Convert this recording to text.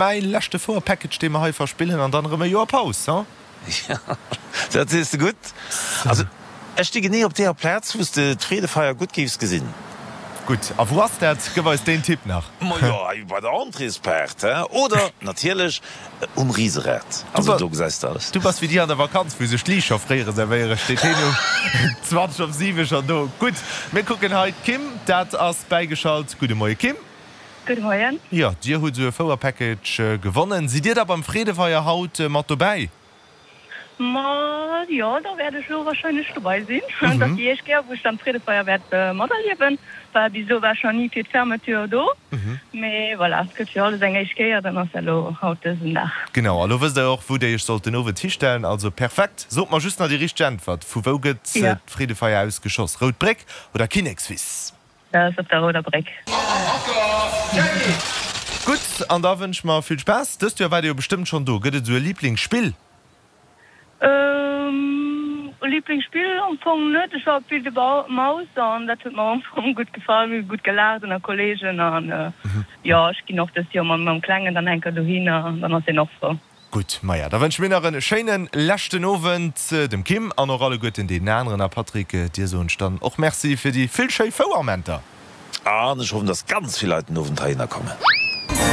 Mäi leschte Fouer-Package, dee mer hei verspillen, an dann erëm e Joer Paus, huh? Jo, dat sees de gutt. Also, ech sti genee op deeër Plaz, wou s de d'Freedefeier gutt géifs gesinn. Gutt, a wou ass dat? Gëff eis deen Tipp nach. Majo, hei bei der Entréespaart, he? Oder natierlech um Riserad. Also, do gesäis de alles. Du bass wéi déi an der Vakanz, wou sech d'Liicht scho fréiere servéieren, steet heen um 20 op 7 schonn do. Gutt, mir kucken hei d'Kim, dat ass bäigeschalt. Gudde Moie Kim. Gudde Moien. Jo, dir hutt esou e Fouer-Package gewonnen. Sidd dir da beim Freedefeier haut mat dobäi? Ma jo, da wäert ech elo warscheinlech dobei sinn. Et ass déi éischt Kéier, wou ech dann d'Freedefeier wäert materliewen, well bis elo war ech nach ni fir d'Fermeture do. Mee voilà, et gëtt fir alles eng éischt Kéier, dann ass dat elo haut dësen Dag. Genau, a lo wësst der och, wou dir iech sollt den Owend histellen. Also perfekt. Sot mer just nach déi richteg Äntwert, Vu wou gëtt d'Freedefeier ausgeschoss? Rout Bréck oder Kinnekswiss? Dat ass op der Rouder Bréck. Gutt, an da wënsche mer vill Spaass. Dëst Joer waart Dir jo bestëmmt schonn do. Gëtt et esou e Liblingsspill? E Liblingsspill am Fong net. Ech war op d'Wilde Maus an dat huet mer am Fong gutt gefall. Mir hu gutt gelaacht ënner Kolleegen an jo, ech ginn och dëst Joer mam Klengen dann eng Kéier dohinner an dann ass hien och frou. Gutt, maja, da wënsche mir nach en schéinen leschten Owend dem Kim an och alleguerten deenen aneren. A Patrick, dir soen ech dann och Merci fir déi vill schéi Fouermenter. An ech hoffen, dass ganz vill Leit den Owend heihinner kommen.